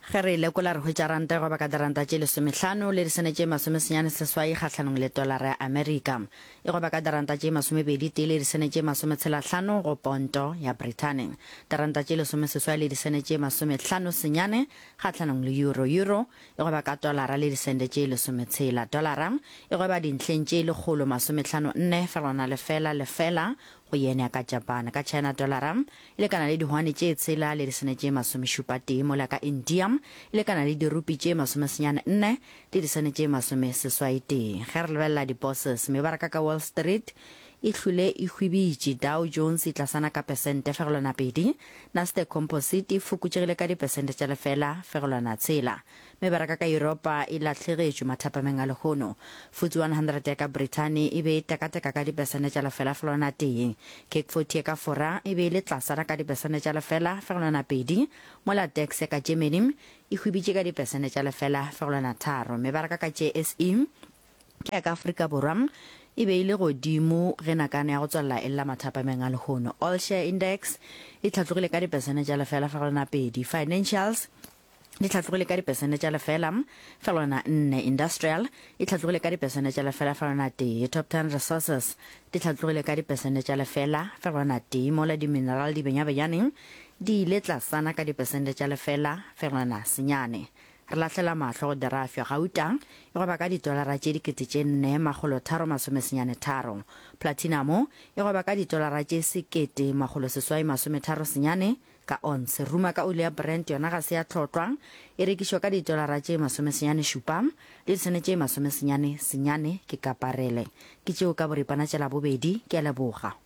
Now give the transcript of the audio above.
Ge re e lekola re hwetša ranta e gweba ka diranta tše lesomehlano le disene tše masomesenyane seswai kgahlanong le tolara ya Amerika. E gweba ka diranta tše masomepedi tee le disene tše masometshelahlano go ponto ya Brithani. Diranta tše lesomeseswai le disene tše masomehlano senyane kgahlanong le euro. Euro e gweba ka tolara le disente tše lesometshela. Tolara e gweba dintlheng tše lekgolo masomehlano nne fegelwana lefela lefela go yen ya ka Japan. Ka China tolara e lekana le dihwane tše tshela le disene tše masomešupa tee, mola ka India e lekana le dirupi tše masomesenyane nne le disene tše masomeseswai tee. Ge re lebelela di-bourses, mebaraka ka Wall Street e hlwile e hwibitše, Dow Jones e tlasana ka pesente fegelwana pedi, Nasdaq Composite e fokotšegile ka dipesente tša lefela fegelwana tshela. Mebaraka ka Yuropa e lahlegetšwe mathapameng a lehono. FTSE 100 ya ka Brithani e be e tekateka ka dipesente tša lefela fegelwana tee. CAC 40 ya ka Fora e be e le tlasana ka dipesente tša lefela fegelwana pedi, mola DAX ya ka Germany e hwibitše ka dipesente tša lefela fegelwana tharo. Mebaraka ka JSE ya ka Afrika Borwa e be e le godimo ge nakana ya go tswalela e lla mathapameng a lehono. All Share Index e hlatlogile ka dipesente tša lefela fegelwana pedi. Financials di hlatlogile ka dipesente tša lefela fegelwana nne, Industrial e hlatlogile ka dipesente tša lefela fegelwana tee, Top Ten Resources di hlatlogile ka dipesente tša lefela fegelwana tee, mola di-mineral di benyabenyaneng di ile tlasana ka dipesente tša lefela fegelwana senyane. Re lahlela mahlo go derafyo, gauta e gweba ka ditolara tše dikete tše nne makgolo tharo masomesenyane tharo, platinamo e gweba ka ditolara tše sekete makgolo seswai masometharo senyane, Ka onse, ruma ka oli ya Brent yona ga se ya hlotlwa, e rekišwa ka ditolara tše masomesenyane šupa le disene tše masomesenyane senyane ke ka parele. Ke tšeo ka boripana tša Labobedi, ke a leboga.